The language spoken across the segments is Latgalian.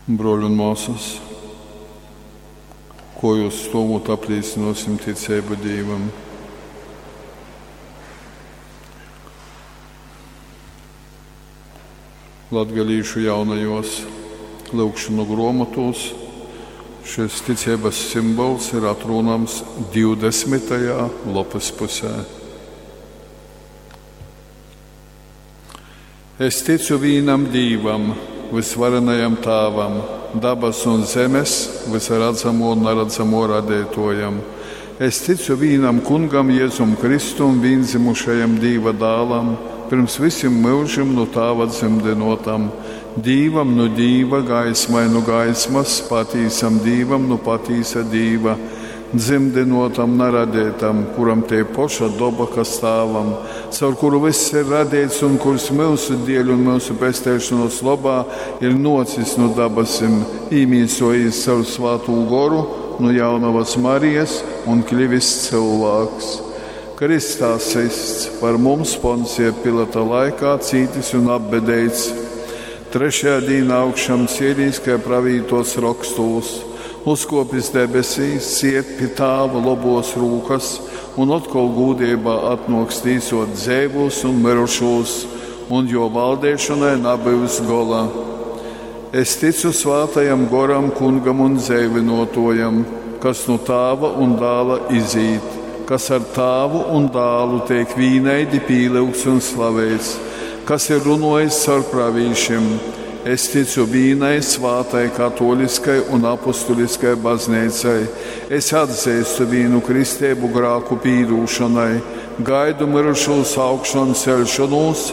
Bruoļi un muosys, kuojuos stuovūt aplīcynuosim ticeibu Dīvam. Latgalīšu jaunajuos lyugšonu gruomotuos šys ticeibys simbols ir atrūnams 20. lopys pusē. Es ticu vīnam Dīvam, vysvarenajam Tāvam, dabasu un zemes, vysa radzamuo un naradzamuo radeituojam. Es ticu vīnam Kungam Jezum Kristum, vīndzymušajam Dīva dālam, pyrms vysim myužim nu Tāva dzymdynuotam, Dīvam nu Dīva, gaismai nu gaismas, patīsam Dīvam nu patīsa Dīva, dzymdynuotam, na radeitam, kuram tei poša doba, kas Tāvam, caur kuru vyss ir radeits un kurs myusu dieļ un myusu pesteišonuos lobā ir nuocis nu dabasim, īmīsuojīs caur Svātū Goru nu jaunovas Marijas un klivis cylvāks. Krystā systs, par mums Poncija Pilata laikā cītis un apbedeits, trešajā dīnā augšām cielīs, kai pravītuots rokstūs, uzkuopis debesīs, sied pi Tāva lobuos rūkas un otkol gūdeibā atnuoks tīsuot dzeivūs un myrušūs, un juo valdeišonai nabyus gola. Es ticu Svātajam Goram, Kungam un dzeivynuotuojam, kas nu Tāva un Dāla izīt, kas ar Tāvu un Dālu teik vīnaidi pīlyugts un slaveits, kas ir runuojis caur pravīšim. Es ticu vīnai svātai katoliskai un apustuliskai bazneicai. Es atzeistu vīnu kristeibu grāku pīdūšonai, gaidu myrušūs augšonceļšonūs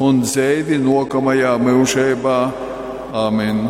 un dzeivi nuokamajā myužeibā. Amen.